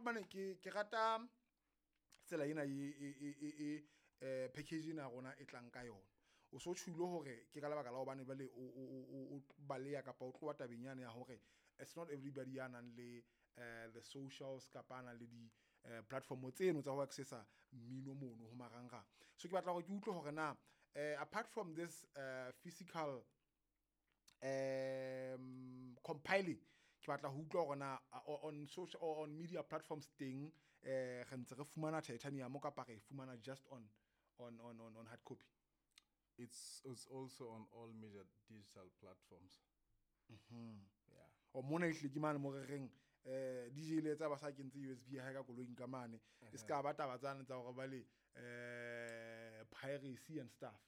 Mane, ke rata tsela ena e package ena ya rona e tlang ka yona. O so tjhulo hore ke ka lebaka la hobane jwale o baleya kapa o tloha tabeng yane ya hore it's not everybody ya nang le the socials kapa a nang le di platform tseno tsa ho accessa mmino mono ho marangrang. So ke batla hore ke utlwe hore na apart from this physical compiling, ke batla ho utlwa hore na on social or on media platforms teng re ntse re fumana Titanium kapa re e fumana just on hard copy? It's also on all major digital platforms. Yeah. O mona ehlile ke mane mo re reng DJ le tsa ba sa kentse USB ya hae ka koloing ka mane, e ska ba taba tsane tsa hore ba le piracy and stuff.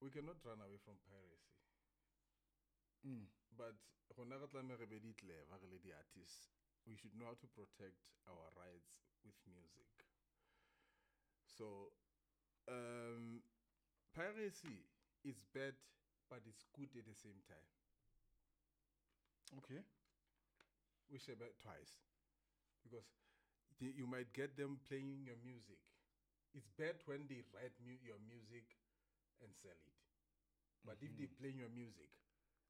We cannot run away from piracy. But rona re tlameha re be di clever re le di-artists. We should know how to protect our rights with music. So piracy is bad, but it's good at the same time. We share twice, because you might get them playing your music. It's bad when they write your music and sell it. But if they play your music,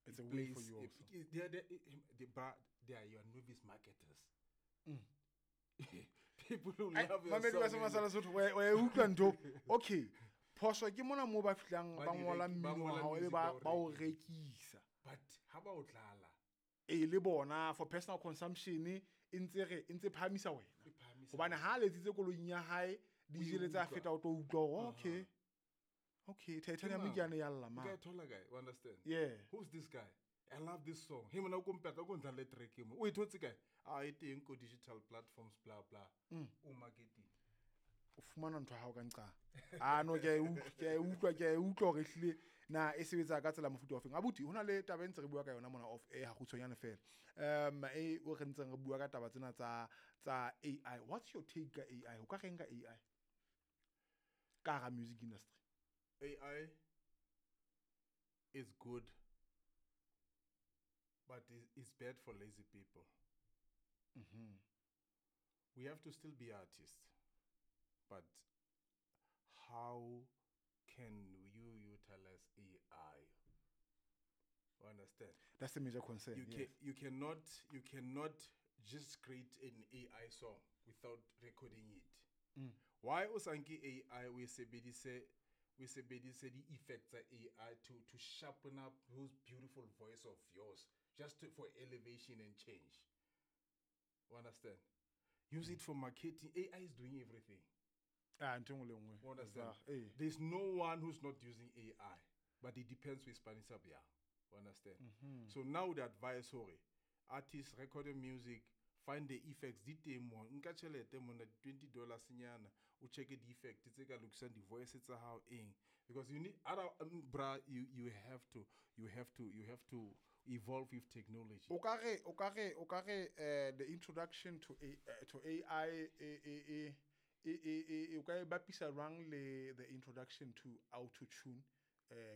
It's it a way for plays you it, also. it, they are, they, bra, they are your novice marketers. People who love your Mamedi wa song. Sema Sala Sotho, wa e utlwa ntho. Okay. Phoso ke mona moo ba fihlang Ba ba di ngola ba mmino wa ngola hao, ebe music ba o ba o rekisa. rekisa. But ha ba o tlala? E le bona for personal consumption e ntse re e ntse phahamisa wena. E phahamisa Hobane wena. ha a letsitse koloing ya hae, DJ le tsa utlwa. feta o tlo utlwa hore, okay. Okay, Titanium Ke ke yane ya lla mang? O ka mane. e thola kae? You understand? Yeah. Who's this guy? I love this song. He mona o kompeta o ntla le track mo. O e thotse kae? Ah, e teng ko digital platforms, blah blah. O marketing. O fumana ntho ya hao ka nqa. Ah no, ke a e utlwa, ke a e utlwa, ke a e utlwa hore ehlile na e sebetsa ka tsela mofuta ofeng. Abuti, hona le taba e ntse re bua ka yona mona off air ha kgutshwanyane fela. E o re ntseng re bua ka taba tsena tsa AI. What's your take ka AI? O ka reng ka AI? Ka hara music industry. AI is good, but it's bad for lazy people. We have to still be artists, but how can you utilize AI? You understand? That's the major concern. You Yes. cannot just create an AI song without recording it. Why o sa nke AI o e sebedise, o sebedise di effects tsa AI to sharpen up those beautiful voice of yours, just for elevation and change. You understand? Use it for marketing. AI is doing everything. Ah, ntho e nngwe le nngwe. You understand? Exactly. There's no one who's not using AI, but it depends with Spanish up, yeah. You understand? So now the advice, sorry, artists record your music, find the effects, di teng mo, nka tjhelete mona, $20 nyana, o check the effect tse ka lokisang di voice tsa hao eng, because you need other, bra, you, you have to, you have to, you have to evolve with technology. O ka re, o ka re, o ka re, the introduction to A to AI, e, e, e, e, e, e, e, o ka e bapisa jwang le the introduction to auto tune,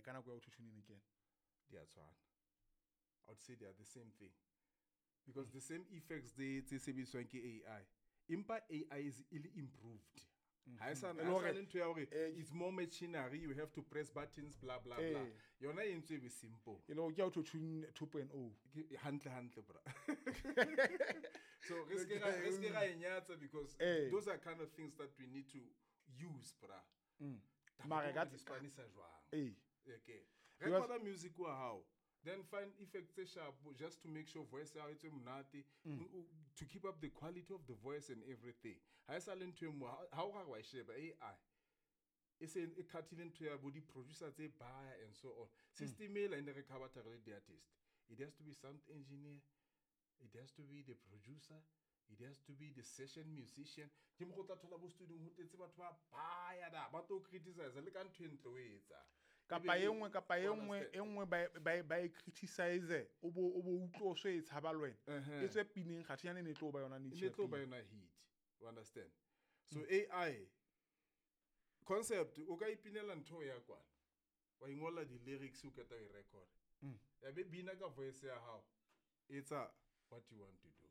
ka nako ya auto tune e ne kena? Di a tshwana. I would say they are the same thing. Because the same effects they tse sebediswang ke AI. Empa AI is ill improved. Ha e sa E le ha e sa hore, le ntho ya hore it's more machinery, you have to press buttons, blah, blah, blah. Yona e ntse e be simple. E le hore ke auto tune 2.0. Ke hantle, hantle, bra. So re se ke ra, re se ke ra e nyatsa because those are kind of things that we need to use, bra. Taba Mara ke ka hore di Spanish jwang? Okay. Because Record music wa hao. Then find effects tse sharp just to make sure voice ya hao e tswe monate, to keep up the quality of the voice and everything. Ha e sa le ntho e nngwe, ha o ra wa e sheba AI e se e cut-ile ntho ya bo di-producer tse baya and so on. System ela e ne re cover re le di-artist. It has to be sound engineer, it has to be the producer, it has to be the session musician. Ke mo go tla thola bo studio ho tletse batho ba baya da, ba tlo criticize le ka ntho e ntle o e etsang. Kapa Ebe e nngwe, kapa e o nngwe, understand? e nngwe ba e criticize, o bo utlwe o so e tshaba le wena. E tswe pineng, kgathe yane e ne tlo ba yona niche E ne tlo ba ya pina. yona hit. You understand? So AI concept, o ka ipinela ntho ya kwana. Wa ingolla di-lyrics o qeta o e record. Ya be bina ka voice ya hao. Etsa what you want to do.